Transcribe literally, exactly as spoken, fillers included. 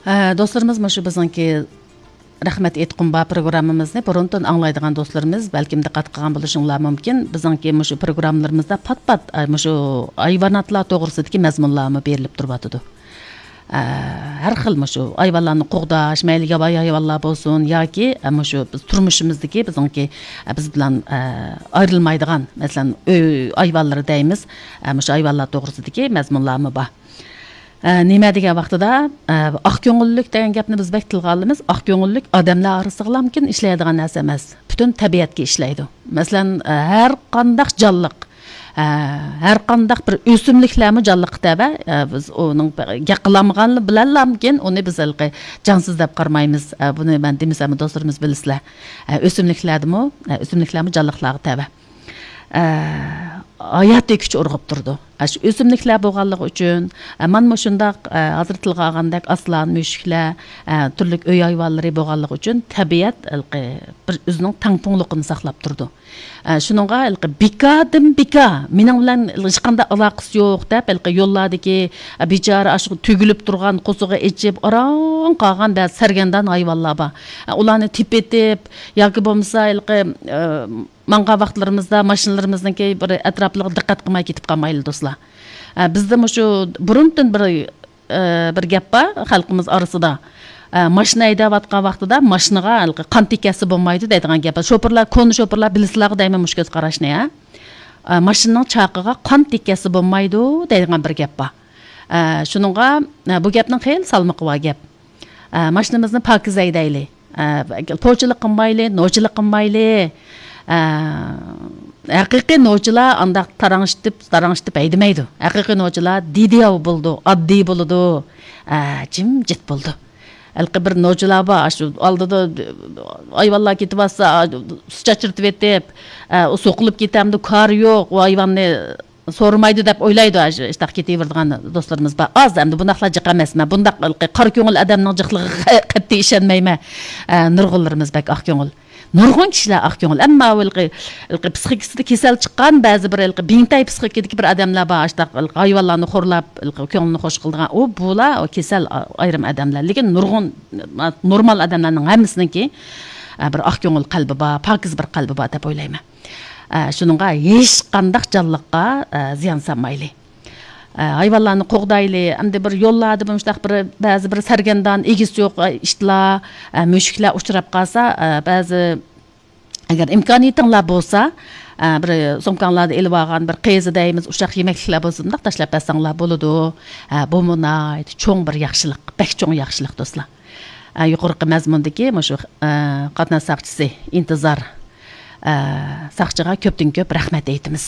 ئە، دوستلىرىمىز، مۇشۇ بىزنىڭكى رەھمەت ئېيتقۇم بار پروگراممىمىزنى بۇرۇندىن ئاڭلايدىغان دوستلىرىمىز بەلكىم دىققەت قىلغان بولۇشۇڭلار مۇمكىن. بىزنىڭكى مۇشۇ پروگراممىلىرىمىزدا پات-پات، ئە، مۇشۇ ھايۋاناتلار توغرىسىدىكى مەزمۇنلارمۇ بېرىلىپ تۇرۇۋاتىدۇ. ئە، ھەر خىل مۇشۇ ھايۋانلارنى قوغداش، مەيلى ياۋايى ھايۋانلار بولسۇن ياكى، ئە، مۇشۇ بىز تۇرمۇشىمىزدىكى بىزنىڭكى، ئە، بىز بىلەن، ئە، ئايرىلمايدىغان، مەسىلەن، ئۆي ھايۋانلىرى دەيمىز. ئە، مۇشۇ ھايۋانلار توغرىسىدىكى مەزمۇنلارمۇ بار. ئە، نېمە دېگەن ۋاقتىدا، ئە، ئاق كۆڭۈللۈك دېگەن گەپنى بىز بەك تىلغا ئالىمىز. ئاق كۆڭۈللۈك ئادەملەر ئارىسىغىلامكىن ئىشلەيدىغان نەرسە ئەمەس. پۈتۈن تەبىئەتكە ئىشلەيدۇ. مەسىلەن، ئە، ھەر قانداق جانلىق، ئە، ھەر قانداق بىر ئۆسۈملۈكلەرمۇ جانلىققا تەۋە. ئە، بىز ئۇنىڭ گەپ قىلالمىغانلىقى بىلەنلامكىن ئۇنى بىز ھېلىقى جانسىز دەپ قارىمايمىز. ئە، بۇنى مەن دېمىسەممۇ دوستلىرىمىز بىلىسىلەر. ئە، ئۆسۈملۈكلەردىمۇ، ئە، ئۆسۈملۈكلەرمۇ جانلىقلارغا تەۋە. ئە، ھاياتىي كۈچ ئۇرغۇپ تۇرىدۇ. ئە، شۇ ئۆسۈملۈكلەر بولغانلىقى ئۈچۈن، ئە، مانا مۇشۇنداق، ئە، ھازىر تىلغا ئالغاندەك ئاسلان، مۈشۈكلەر، ئە، تۈرلۈك ئۆي ھايۋانلىرى بولغانلىقى ئۈچۈن تەبىئەت ھېلىقى بىر ئۆزىنىڭ تەڭپۇڭلۇقىنى ساقلاپ تۇرىدۇ. ئە، شۇنىڭغا ھېلىقى بىكاردىن بىكار مېنىڭ بىلەن ھېچقانداق ئالاقىسى يوق دەپ، ھېلىقى يوللاردىكى، ئە، بىچارە ئاشۇ تۈگۈلۈپ تۇرغان قورسىقى ئېچىپ ئاران قالغان بەزى سەرگەردان ھايۋانلار بار. ئە، ئۇلارنى تېپىۋېتىپ ياكى بولمىسا ھېلىقى، ئە، ماڭغان ۋاقىتلىرىمىزدا ماشىنىلىرىمىزنىڭكى بىر ئەتراپلىرىغا دىققەت قىلماي كېتىپ قالمايلى، دوستلار. ئە، بىزدە مۇشۇ بۇرۇندىن بىر، ئە، بىر گەپ بار خەلقىمىز ئارىسىدا. ئە، ماشىنا ھەيدەۋاتقان ۋاقتىدا ماشىنىغا ھېلىقى قان تېگىسە بولمايدۇ دەيدىغان گەپ بار. شوپۇرلار، كونا شوپۇرلار بىلىسىلەرغۇ دەيمەن مۇشۇ كۆز قاراشنى، ھە؟ ئە، ماشىنىنىڭ چاقىغا قان تېگىسە بولمايدۇ دەيدىغان بىر گەپ بار. ئە، شۇنىڭغا، ئە، بۇ گەپنىڭ خېلى سالمىقى بار گەپ. ئە، ماشىنىمىزنى پاكىز ھەيدەيلى. ئە، پوچىلىق قىلمايلى، نوچىلىق قىلمايلى. ئە، ھەقىقىي نوچىلار ئانداق تاراڭشىتىپ، تاراڭشىتىپ ھەيدىمەيدۇ. ھەقىقىي نوچىلار دىدىياۋ بولىدۇ، ئاددىي بولىدۇ. ئە، جىمجىت بولىدۇ. ھېلىقى بىر نوچىلار بار، ئاشۇ ئالدىدا ھايۋانلار كېتىۋاتسا، سۇ چاچرىتىۋېتىپ، ئە، ئۇ سوقۇلۇپ كېتەمدۇ، كارى يوق، ئۇ ھايۋاننى سورىمايدۇ دەپ ئويلايدۇ، ئاشۇ ئىشتاق كېتىۋېرىدىغان دوستلىرىمىز بار. ئاز ئەمدى بۇنداقلار جىق ئەمەس. مەن بۇنداق ھېلىقى قارا كۆڭۈل ئادەمنىڭ جىقلىقىغا قەتئىي ئىشەنمەيمەن. ئە، نۇرغۇنلىرىمىز بەك ئاق كۆڭۈل. نۇرغۇن كىشىلەر ئاق كۆڭۈل. ئەمما ھېلىقى، ھېلىقى پسىخىكىسىدا كېسەل چىققان بەزى بىر ھېلىقى بىڭتەي پسىخىكىدىكى بىر ئادەملەر بار. ئاشتاق ھېلىقى ھايۋانلارنى خورلاپ، ھېلىقى كۆڭلىنى خوش قىلىدىغان. ئۇ، بۇلار كېسەل ئايرىم ئادەملەر. لېكىن نۇرغۇن، نورمال ئادەملەرنىڭ ھەممىسىنىڭكى، ئە، بىر ئاق كۆڭۈل قەلبى بار، پاكىز بىر قەلبى بار دەپ ئويلايمەن. ئە، شۇنىڭغا ھېچقانداق جانلىققا، ئە، زىيان سالمايلى. ئە، ھايۋانلارنى قوغدايلى. ئەمدى بىر يوللاردا مۇشۇنداق بىر، بەزى بىر سەرگەردان، ئىگىسى يوق، ئە، ئىتلار، ئە، مۈشۈكلەر ئۇچراپ قالسا، ئە، بەزى، ئەگەر ئىمكانىيىتىڭلار بولسا، ئە، بىر سومكاڭلاردا ئېلىۋالغان بىر قېزا دەيمىز، ئۇششاق يېمەكلىكلەر بولسا، مۇنداق تاشلاپ بەرسەڭلار بولىدۇ. ئە، بۇمۇ ناھايىتى چوڭ بىر ياخشىلىق، بەك چوڭ ياخشىلىق، دوستلار. ئە، يۇقىرىقى مەزمۇندىكى مۇشۇ، ئە، قاتناش ساقچىسى ئىنتىزار، ئە، ساقچىغا كۆپتىن كۆپ رەھمەت ئېيتىمىز.